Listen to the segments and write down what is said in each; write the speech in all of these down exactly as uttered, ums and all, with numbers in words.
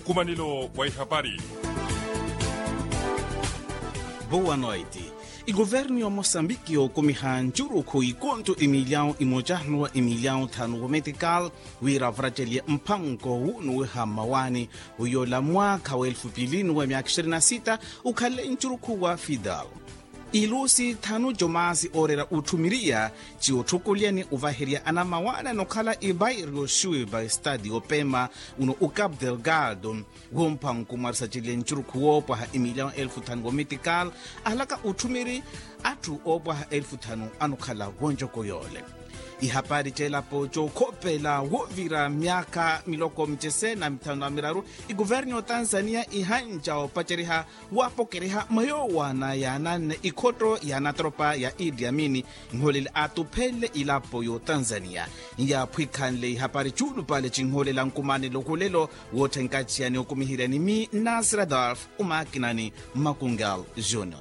Nkumanelo wa ihapari. Boa noite. Ikuvernu ya mosambiki yookumiha ncurukhu ikonto imilyawu imoca nuwa imilyawu thanu wometikal wira varacelye mpanko wunuwiha mmawaani, wiyola mwaakha wa elfu pili nuwa myaakha ishirini na sita ukhale ncurukhu wa fidal. Ilusi thanu jomaasi ooreera utthumiriya ci otthukulyani ovaherya anamawaani anokhala ibairyo shuiba estadi opema uno ucap delgado. Wompanku mwarisacile ncurukhu woopwaha imilyawu elfu thanu womitikal ahalaka utthumiri atthu oopwaha elfu thanu anokhala wonjoko yoole. Ihapari c'elapo cookhopela woovira myaakha miloko micese na mithanu na miraru, ikuvernu y'otanzania ihanca opaceriha waapokeriha mwa yoowana yaananne ikhotto ya natropa ya idi amini. Nhoolele atuphenle ilapo y'otanzania yaaphwikhanle ihapari cuulupale cinhoolela nkumanelo khulelo wootthenkaciyani okumihiryani mi nasir adolf, omakinani makungal junior.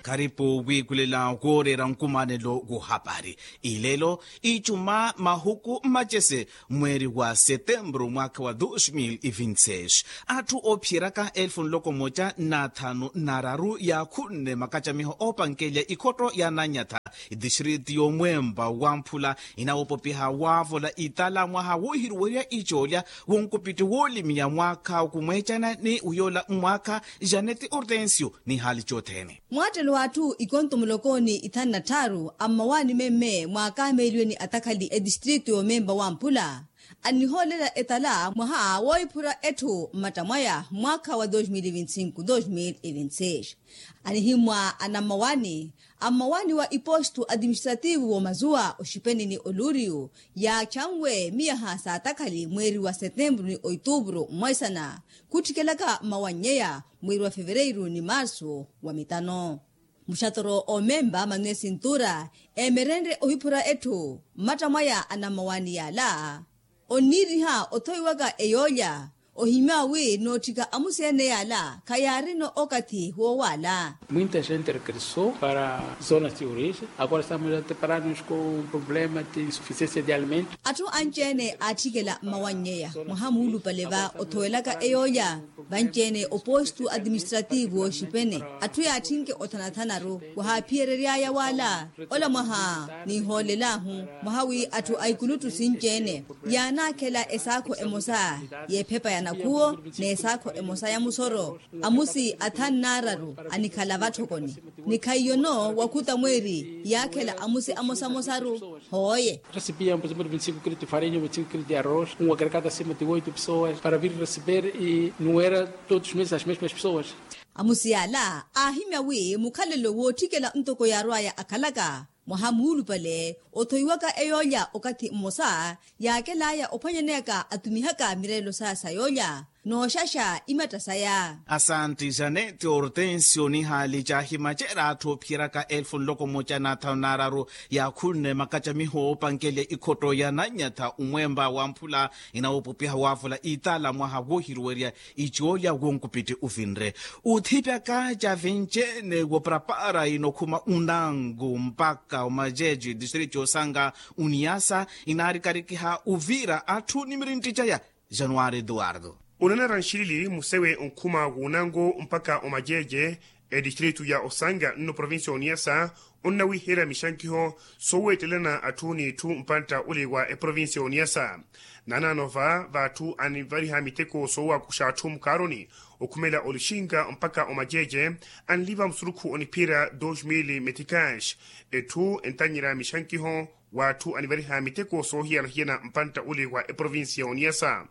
Kharipu wiikulela wooreera nkumanelo w'ohapari. Ilelo icuma mahuku mmacese mweeri wa setemburu mwaakha wa dos mil e vinti seis, atthu oophiyeryaka elfu nloko moca na thanu na raru yaakhunne makacamiho oopankelya ikhotto ya nanyatha. Itistriti y'omwempa wa mphula inawoopopiha waavola itala mwaha woohiruwerya icoolya wonkupitti woolimiya mwaakha okumweecana ni wiyoola mwaakha. Janeti ortensio ni haali cothene. Mwaattelo w'atthu ikonto muloko ni ithanu na tthaaru ammawaani memme mwaakameeliwe ni atakhali etistrito y'omempa wa mphula annihoolela etala mwaha woohiphura etthu mmatta mwaya mwaakha wa dos mil e vinti sinku dos mil e vinti seis. Anihimwa anammawaani ammawaani wa ipostu atiministrativu w'omazuwa oxipeni ni oluriyu yaachanwe miyaha saatakhali mweeri wa setemburu ni oituburu mmoisana khuttikelaka mmawannyeya mweeri wa fevereiru ni marsu wa mitano. Muxatoro omempa manuel sintura emerenrye ohiphura etthu mmatta mwaya anammawaani yaala onniiriha othoiwaka eyoolya ohimya wi nootthika amusi ene yaala khayaarino okathi woowaala. Muinta gente regressou para zonas de origem agora estamos a deparar-nos com um problema de insuficiência de alimentos. Atthu anci-ene aatthikela mmawannyeya mwaha muulupale va othowelaka eyoolya. Vanci-ene opostu atiministrativu wooxipene atthu yaatthinke othanathanaru wahaaphiyeryery'aya waala ola mwaha ninhoolel'ahu mwaha wi atthu a ikuluttu sinci-ene yaanaakhela esaakho emosa y'ephepa ya nakhuwo n'esaakho emosa ya musoro amusi athanu n'araru anikhala vatthokoni ni khaiyono wakhuta mweeri yaakhela amusi amosamosaru. Hooye. Recebíamos por exemplo vinte e cinco quilos de farinha vinte e cinco quilos de arroz um agregado acima de oito pessoas para vir receber e não era todos os meses as mesmas pessoas. Amusi yaala aahimya wi mukhalelo wootthikela ntoko yaarw'aya akhalaka mwaha muulupale othoiwaka eyoolya okathi mmosa yaakel'aya ophwanyaneyaka atumihaka mireelo saya sa yoolya nooxaxa imatta saya. Asanti janeti ortensio nihaali caahimacerya atthu oophiyeryaka elfu nloko mmoca na thanu n'araru yaakhunne makacamiho oopankelya ikhotto ya nanyatha omwempa wa mphula inawoopopiha waavola itala mwaha woohiruwerya icoolya wonkupiti ovinre. Othipyaka ca vinci-ene woparapara inokhuma unango mpakha omajeje distrito y'osanga uniyasa inaarikarikiha ovira atthu ni mirintti caya. Januari eduardo. Onanara nxilili musewe onkhuma w'unango mpakha omajeje etistrito ya osanga nno provincia y'oniyasa onnawiherya mixankiho sooweettelana atthu n'itthu mpantta ole wa eprovincia y'oniyasa. Naanaano va v'atthu anivariha miteko soowakuxa atthu mukaaroni okhumela olixinga mpakha omajeje anliva musurukhu oniphiyerya dos mil meticas. Etthu entanyerya mixankiho w'atthu anivariha miteko soohiyana-hiyana mpantta ole wa eprovincia y'oniyasa.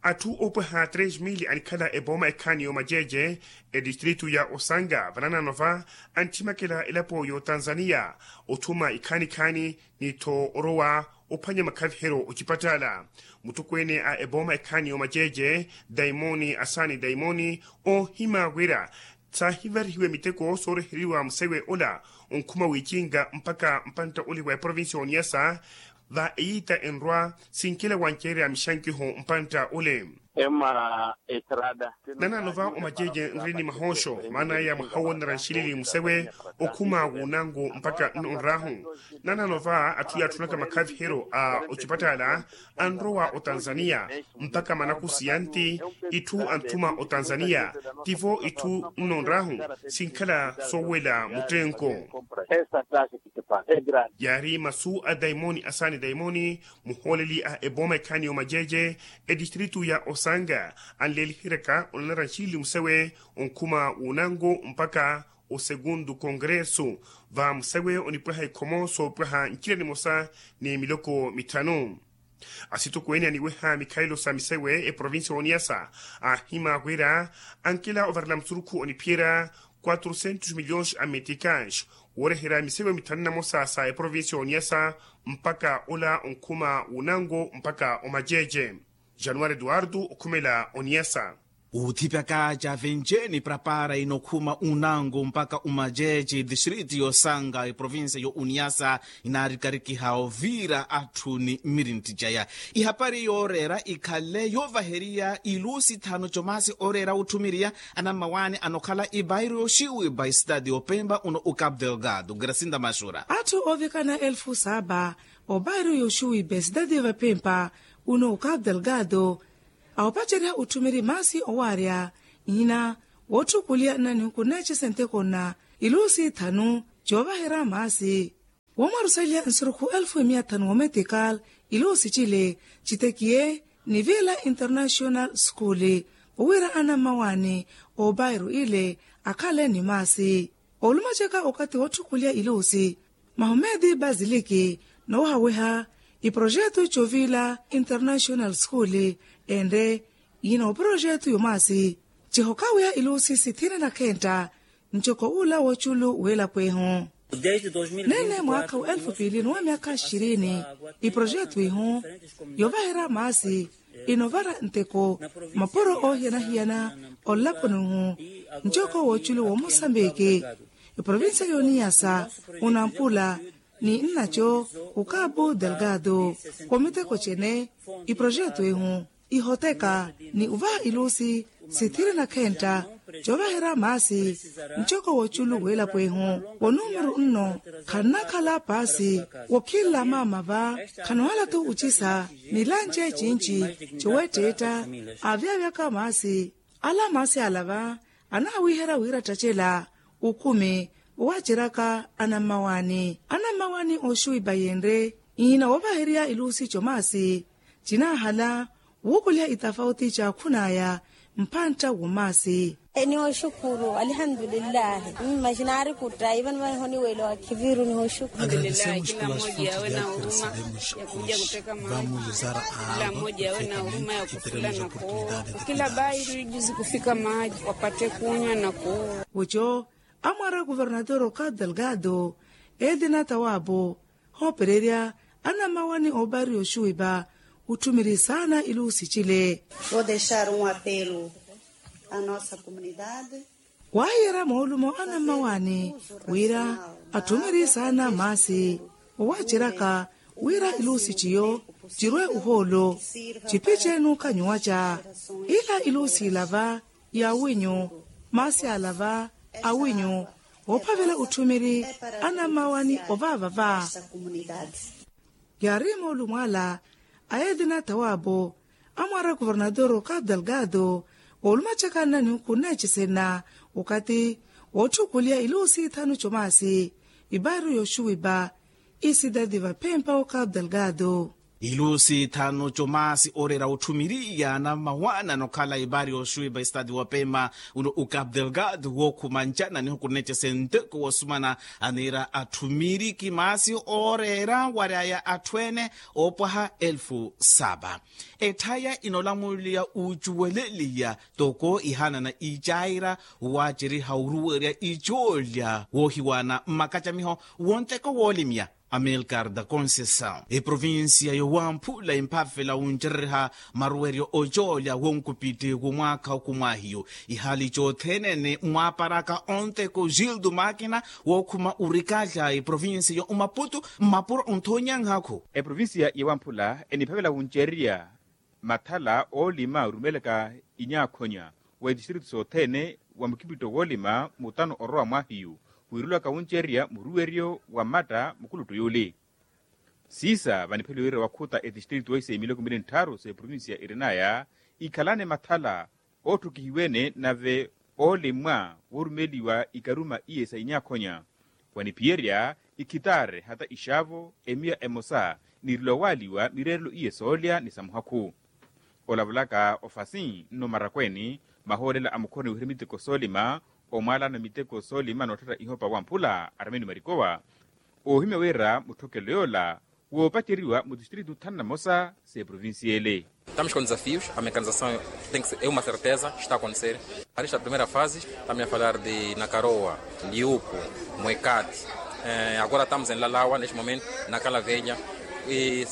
Atthu oopweha tres mil anikhala epooma ekhaani y'omajeje etistrito ya osanga vanaanaano va anttimakela elapo y'otanzania othuma ikhaani-khaani ni-tho orowa ophwanya makhaviheryo ocipatala. Mutthukweene a epooma ekhaani y'omajeje daimoni asani daimoni oohima wira saahivarihiwe miteko sooreheriwa musewe ola onkhuma wiicinga mpakha mpantta ole wa eprovincia y'oniyasa va eyiita enrwa sinkela wancerya mixankiho mpantta ole. Ema estrada. Nanaano va omaceece nri ni mahooxo maana aya mwaha woonera nxilili musewe okhuma wunango mpakha nno nrahu. Nanaano va atthu yaatthunaka makhaviheryo a ocipattaala anrowa otanzaniya mpakha manakusi yanti itthu antthuma otanzaniya. Tivo itthu nno nrahu sinkhala soowela muttenko. Yaari masu a daimoni asaani daimoni muhooleli a ebooma ekhaani y'omaceece etistritu ya osanga anleeliheryaka onanara nxilili musewe onkhuma wunango mpakha osegundu kongresu. Va musewe onipwaha ikhomo soopwaha ncila nimosa ni miloko mitthanu. Asitokweene aniweha mikhalelo sa misewe eprovincia y'oniyasa aahima wira ankela ovarela musurukhu oniphiyerya quatro centos milhões a meticais wooreherya misewe mithanu na mosa sa eprovincia y'oniyasa mpakha ola onkhuma wunango mpakha omaceece. Januari eduardo okhumela oniyasa. Uthipyaka cavenjeni prapara inokhuma unango mpakha umaceece distrito y'osanga eprovincia y'oniyasa inaarikarikiha ovira atthu ni mmirintti caya. Ihapari yooreera ikhale yoovaheriya ilusi thanu comasi ooreera otthumiriya anammawaani anokhala ibairo yoxiwipa esitati y'opempa uno ucap delgado gracinda maxura. Atthu oovikana elfu saba obairo yoxiwipa esitati y'opempa uno ucap delgado aopaceriha otthumiri maasi owaarya nhina wootthukulya nnanihuku nneecese nteko nna ilusi thanu coovaherya maasi. Womwarusaliya nsurukhu elfu imiya thanu wometikal ilusi cile citekiye ni vila international school wira anammawaani obairo ile akhale ni maasi. Olumacaka okathi wootthukulya ilusi mahomedi basiliki noohaweha iprojetu covila international school enre ina oprojetu yomaasi cihokhaweha ilusi sithina na khentta ncoko ula woculu welapo ehu. Nene mwaakha wa elfu piili ni wa myaakha xirini iprojetu ihu yovaherya maasi inovara nteko mapuro oohiyana-hiyana onlaponi uhu ncoko woculu womosambiki eprovincia y'oniyasa unampula ni nnaco ukapu delgado. Komiteko cene iprojetu ehu ihoteka ni uvaha ilusi sithiri na khentta covaherya maasi ncoko woculu welapo ehu wonumuru nno khannakhala paasi wokhinla maama va khanohala-tho ucisa ni lanci ecinci coweetteetta aavyavyaka maasi. Ala maasi ala va anaawiherya wira ttattela ukhumi owaaceryaka anammawaani anammawaani ooxuwipa yenre ihina woovaheriya ilusi comaasi cinaahala wuukuliha itafauti caakhun'aya mphantta womaasi. Nihooxukuru alihandulillahi. Mmaxinaari kutta ivani vaniho niwelo akhiviru nihooxukuru. Kila mmoja yawe na huruma ya kuja kuteka maji. Kila mmoja yawe na huruma ya kufula na kuowa kila bairiji zikufika maji wapate kunywa na kuowa. Wuco amwara kuvernatoro ka delgado edina tawapo hoopererya anamawani oopari oxuwipa otthumiri saana ilusi cile. Vou dexar um apelo a nossa comunidade. Waahiyerya moolumo anamawani wira atthumiri saana maasi owaaceryaka wira ilusi ciyo cirwe uhoolo cipice nuukanyuwaca ila ilusi ilava ya winyu maasi alava awinyu woophavela otthumiri anamawani ovaavava. Yaari moolumo ala a edina tawapo amwara kuvernatoro ka delgado oolumacaka nnanihuku nneecesena okathi wootthukuliya ilusi ithanu comaasi ipaaru yooxuwipa isitati vaphempa okapu delgado. Ilusi thanu comaasi ooreera otthumiriya anammawaani anokhala ipaari yooxuwipa esitati wopema uno ukapu delgado wookhuma ncana nihuku nneecese nteko woosumana aniira atthumiri kimaasi ooreera waryaya atthu ene oopwaha elfu sapa. Etthaya inoolamuliya uucuweleliya toko ihaanana icaira waaceriha oruwerya icoolya woohiwaana mmakacamiho wonteko woolimya. Amilcar da conceição eprovincia yowamphula emphafela wuncereriha maruweryo ocoolya wonkupitthi womwaakha okumwaahiyu ihaali cothene ni mwaaparaka onteko gildo makina wookhuma orikala eprovincia yo omaputu mmapuro onthoonyanhakhu. Eprovincia yowamphula eniphavela wuncererya mathala oolima orumelaka inyaakhonya wa itistritu sothene wa mukipitto woolima mutano orowa mwahiyu, wirulaka wuncerya muruweryo wa mmatta mukuluttu yuli. Siisa vanipheliwe wira wakhuta etistritu eise miloko mili nttharu s'eprovincia irinaya ikhalane mathala otthukihiwene nave oolimwa worumeliwa ikaruma iye sa inyaakhonya, waniphiyerya ikhitaare hata ixaavo emiya emosa, nirilo waaliwa mireerelo iye soolya ni sa muhakhu. Olavulaka ofasi nno marakweeni, mahoolela a mukhoroni wihira miteko soolima, omwaalana miteko soolima nootthetta ihopa wamphula armeni marikowa. Oohimya wira mutthokelo yoola woopaceriwa mu tistritu thanu na mosa s'eprovincia ele. Estamos com desafios, a mecanização tem que ser, é uma certeza, está a acontecer. Esta primeira fase, estamos a falar de Nakaroa, Liupo, Moekati. Eh, agora estamos em Lalawa, neste momento, na Calavelha. E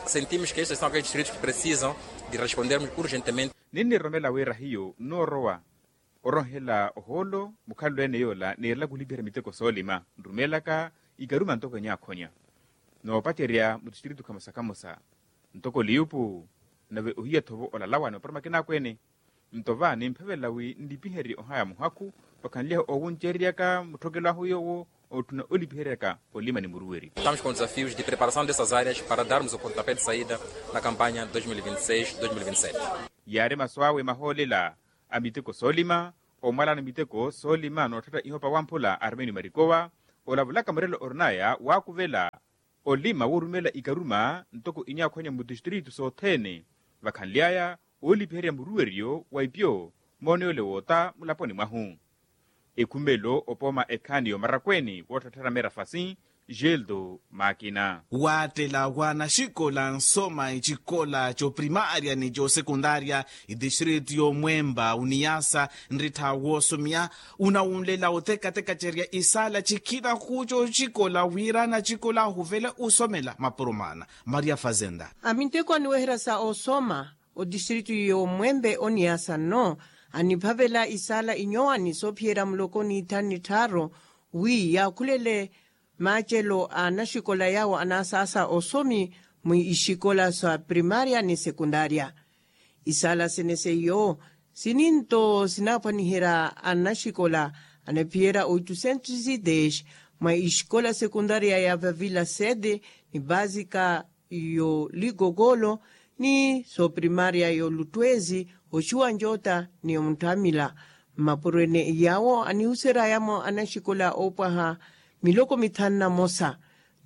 sentimos que estes são aqueles distritos que precisam de respondermos urgentemente. Ninniroromela wira hiyo nnoorowa oronhela ohoolo mukhalelo ene yoola neerelaka olipiherya miteko soolima nrumelaka ikaruma ntoko enyaakhonya noopacerya mutistritu khamosa khamosa, ntoko liyupu nave ohiya-tho vo olalawa ni mapuro makina akweene. Nto va nimphavela wi nlipiherye ohaya muhakhu vakhanly'ahu oowuncereryaka mutthokelo ahu yoowo ootthuna olipiheryaka olima ni muruweryo. Estamos com desafios de preparação dessas áreas para darmos o pontapé de saída na campanha dois mil e vinte e seis, dois mil e vinte e sete. Yaari masu awe mahoolela a miteko soolima, omwalana miteko soolima nootthetta ihopa wamphula armeni marikowa, olavulaka murelo orinaya waakuvela olima woorumela ikaruma ntoko inyaakhwanya mutistritu sothene vakhanly'aya oolipiherya muruweryo wa ipyo mooneyole woota mulaponi mwahu. Ekhumelo opooma ekhaani yomarakweeni wootthattharamera fasi. Geldo makina. Waattela wa anaxikola nsoma icikola coprimaria ni cosekundaria itistritu yomwemba uniyasa nrittha woosomya unawunlela otekatekacerya isaala cikina kuuco cikola wira anacikola ahuvele osomela mapuro maana. Maria fazenda. Aminteko aniweherya sa osoma otistritu yomwembe oniyasa nno aniphavela isaala inyowani soophiyerya muloko ni ithanu ni tthaaru wi yaakhulele maacelo a anaxikola yaawo anaasaasa osomi mwi ixikola sa primaria ni sekundaria. Isaala sene seiyo sininto sinaaphwaniherya anaxikola anaphiyerya oitusentos ideis mwa ixikola sekundaria ya vavila sede ni basika yo ligogolo ni soprimaria yo lutwezi oxuwa njota ni omutthamila. Mmapurwene yaawo anihuseryayamo anaxikola oopwaha miloko mithanu na mosa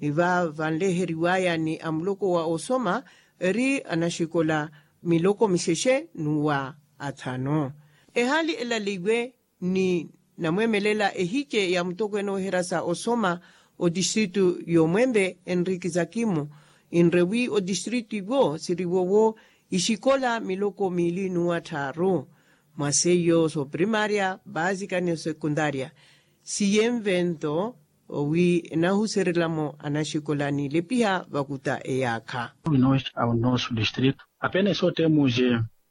ni va vanleheriwaya ni amuloko wa osoma eri anaxikola miloko mixexe n'uwa athanu. Ehaali elaleiwe ni namweemelela ehice ya mutokweene oweherya sa osoma otistritu yomwembe enriki zakimu enre wi otistritu iwo siriwo wo ixikola miloko miili n'uwa tthaaru mwa seiyo soprimaria basika ni osekundaria. Siyenvento owi enahuseryelamo anaxikola niilepiha vakuta eyaakha. Apenas só temos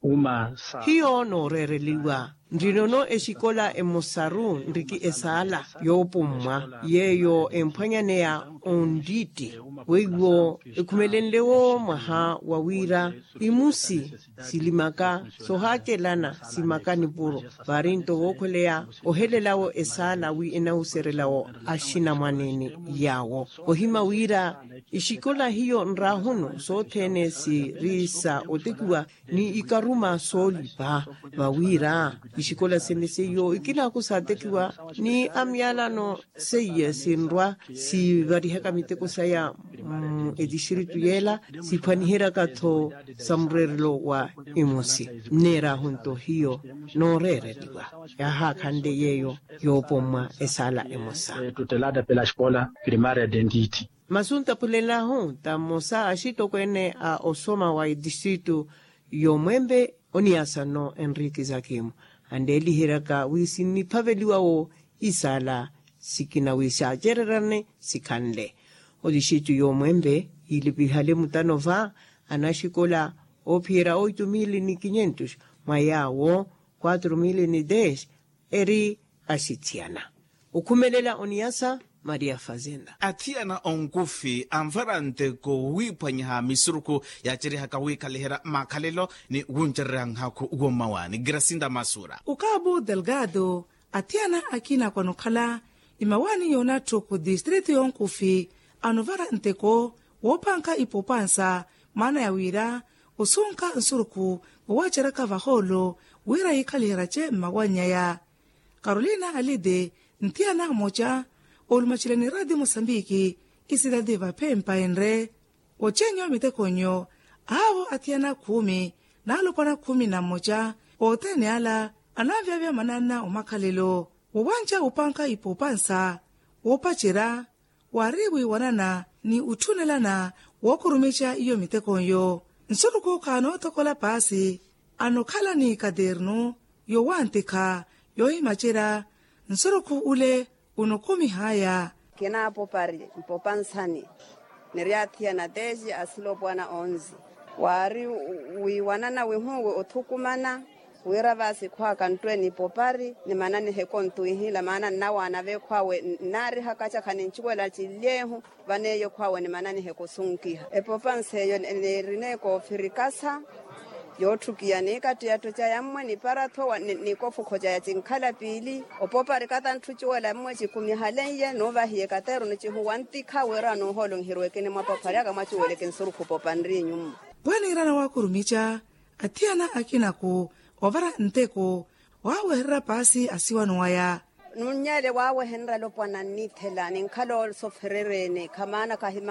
uma sa hiyo nooreereliwa nrinono exikola emosaru nriki esaala yoopummwa yeeyo emphwanyaneya onriitti weiwo ekhumelenle wo mwaha wa wira imusi silimaka sohaacelana simaka nipuro vaari nto wookhweleya ohelelawo esaala wi enahuseryelawo axinamwaneene yaawo ohima wira ixikola hiyo nraahunu sothene siri sa otekiwa ni ikaruma soolipa vawira ixikola sene seiyo ikilaaku saatekiwa ni amyalano seiye sinrwa sivarihaka miteko saya mu etistritu yeela siphwaniheryaka-tho sa mureerelo wa imusi nneeraahu nto hiyo nooreereliwa yaahaakhanle yeeyo yoopommwa esaala emosa. Tutelada pela escola primaria dentiti masu ntaphulel'ahu ta mmosa axitokweene a osoma wa etistritu yomwembe oniyasa nno enriki zakimu anleeliheryaka wi sinniphaveliwa wo isaala sikina wi saacererane sikhanle otixitu yomwembe yiilipihale mutano va anaxikola oophiyerya oitu mili ni kinyentus mwa yaawo kwatru mili ni des eri axithiyana okhumelela oniyasa Maria fazenda. Athiyana onkufi anvara nteko wiiphwanyaha misurukhu yaaceryehaka wiikhaliherya makhalelo ni wuncererya nhaakhu wommawaani grasinda masura. Ukabu delgado. Athiyana akina kwanukhala imawaani yoonatthu ku distritu yonkufi anuvara nteko woopanka ipopansa maana ya wira osunka nsurukhu woowaceraka vahoolo wira yiikhaliheryace mmawannyaya. Karolina alide nthiyana mmoca oolumacela ni radi mosambiki isidadi vaphempa enre. Ocenyo mitekonyo aavo athiyana khumi n'alopwana khumi na mmoca othene ala ananvyavya mananna omakhalelo wowanca opanka ipopansa woopacerya waari wiiwanana ni otthunelana wookurumica iyo mitekonyo. Nsurukhu khaanoothokola paasi anokhala ni katernu yowantikha yoohimacerya nsurukhu ule unokumihaya. Kinaapopari mpopansani niri athiyana teji asilopwana onzi waari wiiwanana wihuwi othukumana wira vaasi khwaaka nttwe ni popari ni mananihe kontwiihila maana nnawaana veekhwaawe nnaarihaka cakha nincuwela cinlyeehu vaneeyo khwaawe ni mananihe kosunkiha epopansa eyo niirine koofirikasa yootthukiya ni kattiyatthu ca yammwe ni paratho ni kofukho ca ya cinkhala piili opopari katantthu cuwela mmwe cikumihalenye nuuvahiye kateru ni cihuwa ntikha wira nuuhoolonherweke ni mwapopari aka mwacuweleke nsurukhu popanri nyummo. Pwaniirana waakurumica athiyana akinaku ovara nteko waawehererya paasi asiwano waya. Nunnyele waawehenrya lopwana nniithela ninkhala osoferereene khamaana kahi.